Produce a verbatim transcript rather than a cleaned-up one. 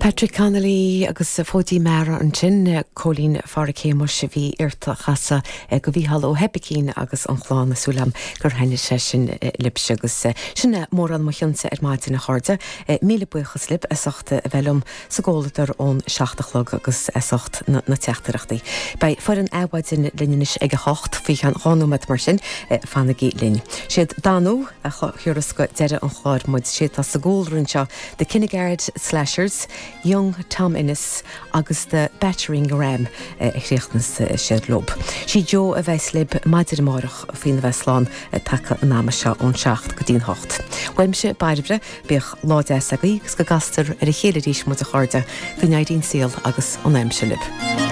Patrick Connolly agus Fóidín Meara ansin Cóilín Pháraic Shéamuis a bhí iarrta a chasadh go Mhícheál Ó hOibicín agus an chlann is súil agam gur thaitnigh sé sin libhse agus sin é mórán mo chionsa ar maidin a chairde míle buíochas libh as ucht a bheith liom sa gcomhluadar ón seacht a chlog agus as ucht na, na teachtaireachtaí. Beidh foireann Adhmhaidin linn anois ag a hocht faoi cheann dhá nóiméad mar sin fanaigí linn. Siad Danú a thiúras go deireadh an chláir muid sé tá sa gcúlra anseo The Kinnegad Slashers, Young Tom Ennis agus the Battering Ram a chríochnas siad leo. Sí Jo a bheas libh maidin amárach faoina bheith slán taca an ama seo ón seacht go dtí'n hocht. Uaimse Bairbre bíodh lá deas agaibh agus go gcastar ar a chéile arís muid a chairde go n-éirí an saol agus an aimsir libh.